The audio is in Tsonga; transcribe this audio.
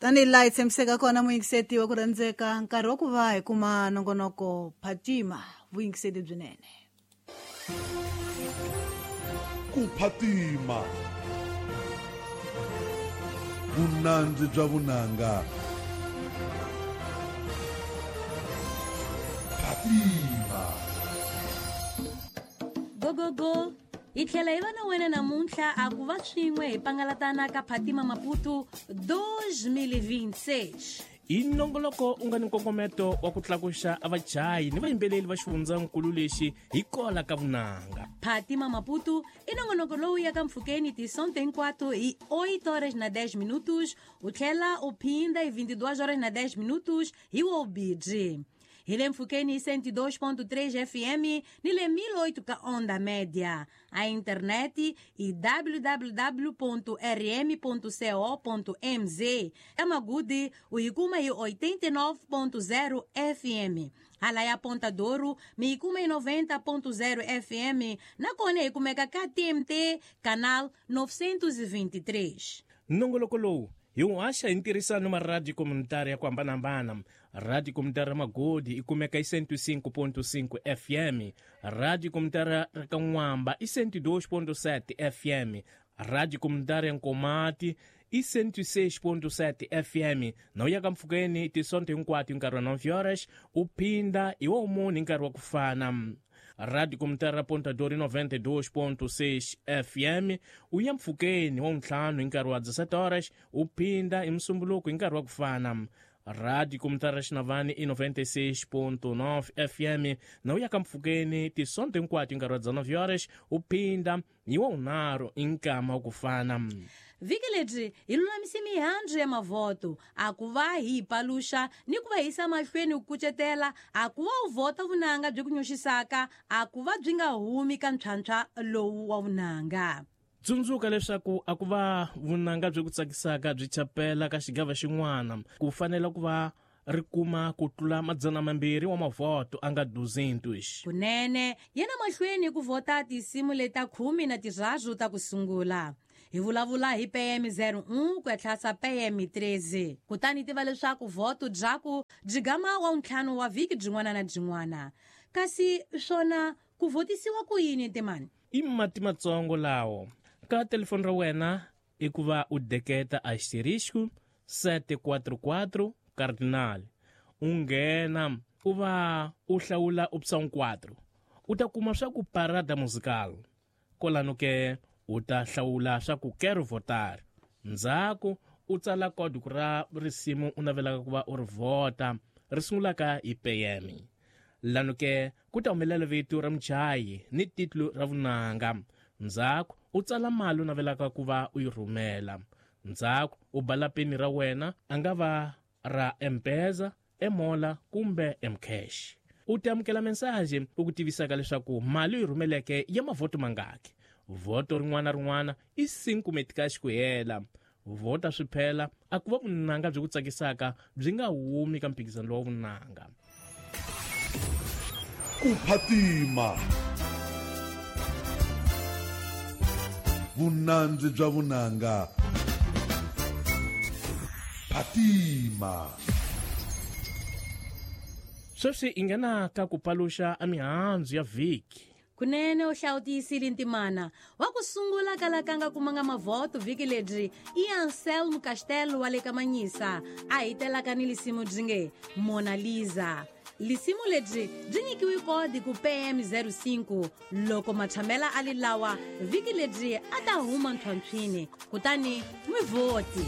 Tanihi laha hi tshembiseke kona muyingiseti wa ku rhandzeka, nkarhi wa ku va hi kuma nongonoko Phatima, vuyingiseti byinene. Ku phatima, vunandzi bya vunanga. Phatima. Gogogo, hi tlhela hi va na wena namuntlha a ku va swin'we hi pangalatana ka Phatima Maputo 2026. I nongoloko u nga ni nkongometo wa ku tlakuxa a vachayi ni vayimbeleri va xifundzankulu lexi hi kola ka vunanga. Phatima Maputo i nongonoko lowu yaka mpfhukeni tisonto hinkwato hi 8 horas na 10 minutos, u tlhela u phinda hi 22 horas na 10 minutos hi wobidri. Hi le mpfhukeni hi 102.3 FM ni le 1008 ka onda média. A internet i www.rm.co.mz. Ka Magudi u yi kuma hi 89.0 FM. Hala ya Ponta Douro mi yi kuma hi 90.0 FM, nakona hi kumeka ka TMT canal 923. Nongoloko lowu hi wu haxa hi ntirhisano ma radio komunitari ya ku hambanahambana. Radio komunitari ya Magodi i kumeka hi 105.5 FM, radio komunitari ra ka N'wamba i 102.7 FM, radio komunitari ya Nkomati i 106.7 FM. Na u ya ka mpfhukeni tisonto hinkwato hi nkarhi wa 9 horas, u phinda hi wa munhu hi nkarhi wa ku fana. Radio Komunitari ra Ponta Douro 92.6 FM, u ya mpfhukeni wa ntlhanu hi nkarhi wa 17 horas, u phinda hi musumbuluko hi nkarhi wa ku fana. Radio Komunitari ra Xinavani i 96.9 FM, na u ya ka mpfhukeni tisonto hinkwato hi nkarhi wa 19 horas, u phinda hi wa unharhu hi nkama wa ku fana. Vhiki lebyi hi lulamise mihandzu ya mavhoto a ku va hi paluxa ni ku va yisa mahlweni ku kucetela a ku va u vhota vunanga byi ku nyoxisaka a ku va byi nga humi ka ntlhantlha lowu wa vunanga. Tsundzuka leswaku a ku va vunanga byi ku tsakisaka byi chapela ka xigava xin'wana, ku fanele ku va ri kuma ku tlula 200 wa mavhoto a nga 200. Kunene yena mahlweni ku vhota tinsimu leta 13 ta ku sungula. Hi vulavula hi PM01 ku ya tlhasa PM13. Kutani tiva leswaku vhoto byaku byi gama wa ntlhanu wa vhiki byin'wana na byin'wana. Kasi swona ku vhotisiwa ku yini timani? I mati matsongo lawo. Ka telefoni ra wena i ku va u deketa asterisco 744 cardinal. U nghena u va u hlawula option 4. U ta kuma swa ku parada musical. Kolano ke u ta hlawula swa ku quero votar. Ndzhaku u tsala código ra risimu u navelaka ku va u ri vhota, ri sungulaka hi PM. Lano ke ku ta humelela vito ra muchayi ni titulu ra vunanga. Ndzhaku u tsala mali u navelaka ku va u yi rhumela. Ndzhaku u bala peni ra wena, a nga va ra M-Pesa, Emola kumbe M-Cash. U ta amukela mensaje u ku tivisaka leswaku mali u yi rhumeleke ya mavhoto mangaki. Vhoto rin'wana rin'wana i 5 metikaxi ku hela. Vhota swi phela a ku va vunanga byi ku tsakisaka byi nga humi ka mphikizano lowa vunanga. Ku phatima, vunandzi bya vunanga. Phatima. Sweswi hi nghena ka ku paluxa a mihandzu ya vhiki. Kunene u hlawutiyisile ntimana wa ku sungula kalakanga kumanga mavhoto vhiki lebyi i Anselmo Castelo wa le ka Manyisa a hitelaka ni lisimu byi nge Mona Lisa. Lisimu lebyi byi nyikiwe kodi ku PM05 loko matshamela a li lawa vhiki lebyi a ta huma ntlhontlhwini, kutani n'wi vhoti.